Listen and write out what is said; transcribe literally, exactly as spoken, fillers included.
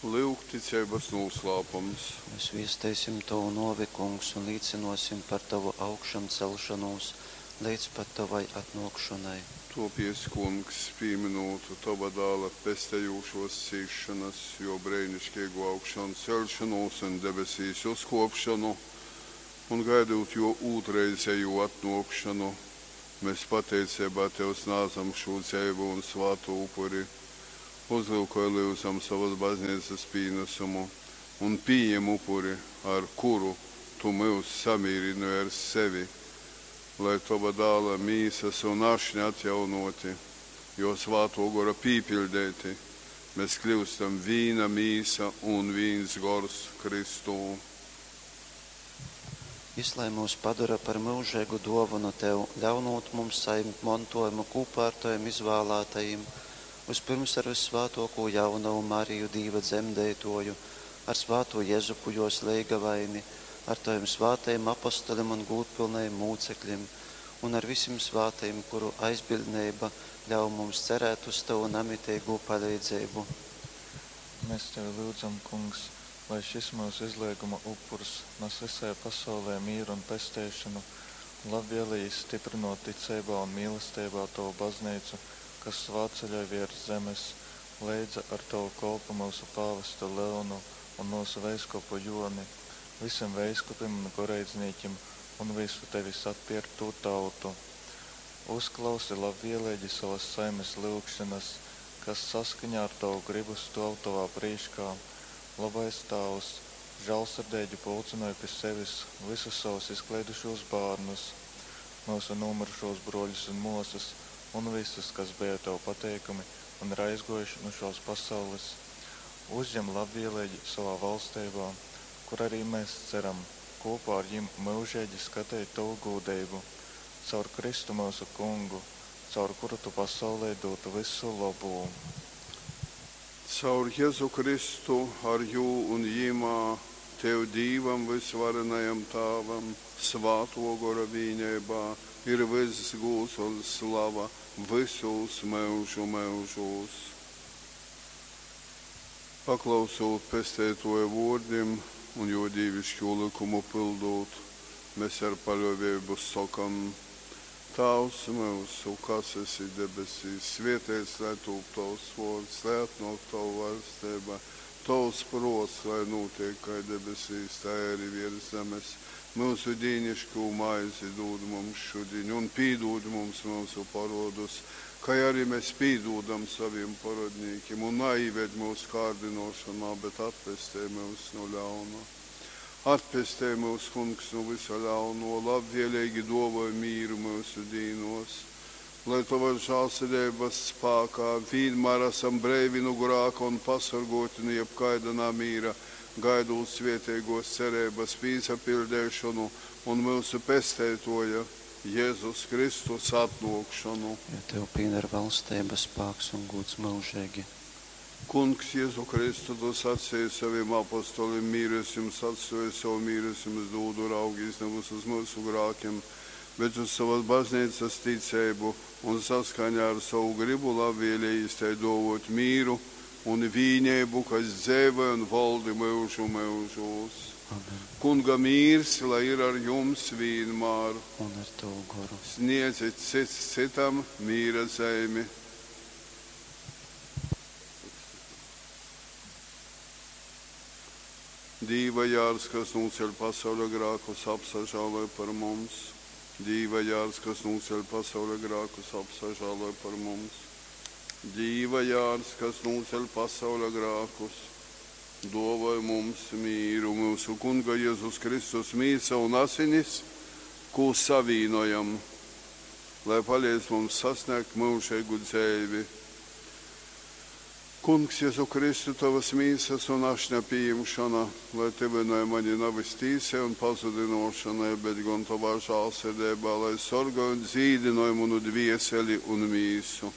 Lyugticeibas nūslāpums. Mes viesteisim tovu nōvi, Kungs, un līcynōsim par tovu augšamceļšonūs leidz pat tovai atnōkšonai. Tōpiec, Kungs, pīmynūt tova Dāla pestejūšōs cīsšonas, jō breiniškeigū augšanceļšonūs un debesīs uzkōpšonu, un gaidūt jō ūtrreizejū atnōkšonu, mes pateiceibā tev snādzam šū dzeivū un svātū upuri. Uzlyukoj, lyudzam, sovas bazneicas pīnasumu un pījem upuri, ar kuru tu myus samīrynoj ar sevi, lai, tova Dāla mīsas un ašņa atjaunōti, jō Svātō Gora pīpiļdeiti, mes kļyustam vīna mīsa un vīns gors Kristū. Jys lai myus padora par myužeigu dōvonu tev, ļaunūt mums sajimt montōjumu kūpā ar tovim izvālātajim, vyspyrms ar vyssvātōkū jaunovu Mariju, Dīva dzemdeitōju, ar svātū Jezupu, jōs leigavaini, ar tovim svātajim apostolim un gūdpylnajim mūceklim un ar visim svātajim, kuru aizbiļdneiba ļauj mums cerēt uz tovu namiteigū paleidzeibu. Mes tevi lyudzam, Kungs, lai šys myusu izleiguma upurs nas vysai pasaulei mīru un pesteišonu. Labvēleigi styprynōt ticeibā un mīlesteibā tovu bazneicu, kas svātceļoj vērs zemes, leidza ar tovu kolpu myusu pāvestu Leonu un myusu veiskupu Jōni, vysim veiskupim un goreidznīkim un vysu tevis atpierktū tautu. Uzklausi labvēleigi sovas saimes lyugšonas, kas saskaņā ar tovu grybu stōv tovā prīškā. Lobais Tāvs, žālsirdeigi pulcynoj pi sevis vysus savus izkleidušūs bārnus, myusu nūmyrušūs brōļus un mōsas un vysus, kas beja tev pateikami un ir aizgōjuši nu šōs pasaules. Uzjem labvēleigi sovā valsteibā, kur arī mēs ceram kopā ar jim myužeigi skateit tovu gūdeibu. Caur Kristu myusu Kungu, caur kuru tu pasaulei dūd vysu lobū. Caur Jezu Kristu, ar jū un jymā, tev, Dīvam vysvarenajam Tāvam, Svātō Gora vīneibā, ir vyss gūds un slava vysūs myužu myužūs. Paklausūt Pesteitōja vōrdim un jō dīviškū lykumu pyldūt, mes ar paļōveibu sokam, Tāvs myusu, kas esi debesīs, svēteits lai tūp tovs vōrds, lai atnōk tova vaļsteiba, tovs prōts lai nūteik kai debesīs, tai ari vērs zemes. Myusu dīniškū maizi dūd mums šudiņ un pīdūd mums myusu porōdus, kai ari mes pīdūdam sovim porōdnīkim, un naīved myusu kārdynōšonā, bet atpestej myus nu ļauna. Atpestej myus, Kungs, nu vysa ļauno, labvēleigi dōvoj mīru myusu dīnōs, lai tovas žālsirdeibas spākā vīnmār asam breivi nu grāka un pasorgōti nu jebkaida namīra, gaidūt svēteigōs cereibas pīsapiļdeišonu un myusu Pesteitōja Jezus Kristus atnōkšonu. Jo tev pīdar valsteiba, spāks un gūds myužeigi. Kungs Jezu Kristu, tu saceji sovim apostolim, mīru es jums atstōju, sovu mīru es jums dūdu, raugīs navys uz myusu grākim, bet uz sovas bazneicas ticeibu, un saskaņā ar sovu grybu labvēlejīs tai dōvōt mīru un vīneibu, kas dzeivoj un voldi myužu myužūs. Amen. Kunga mīrs, lai ir ar jums vīnmār. Un ar tavu goru. Sniedzit cits cytam mīra zeimi. Dīva jārs, kas nūceļ pasauļa grākus, apsažāloj par mums. Dīva jārs, kas nūceļ pasauļa grākus, apsažāloj par mums. Dīva jārs, kas nūceļ pasauļa grākus, dōvoj mums mīru. Myusu Kunga Jezus Kristus mīsa un asinis, kū savīnojam, lai paleidz mums sasnēgt myužeigu dzeivi. Kungs, Jezu Kristu, tovas mīsas un ašņa pījimšona, lai tyvynoj mani navys tīsai un pazudynōšonai, bet gon tovā žālsirdeibā, lai sorgoj un dzīdynoj munu dvieseli un mīsu.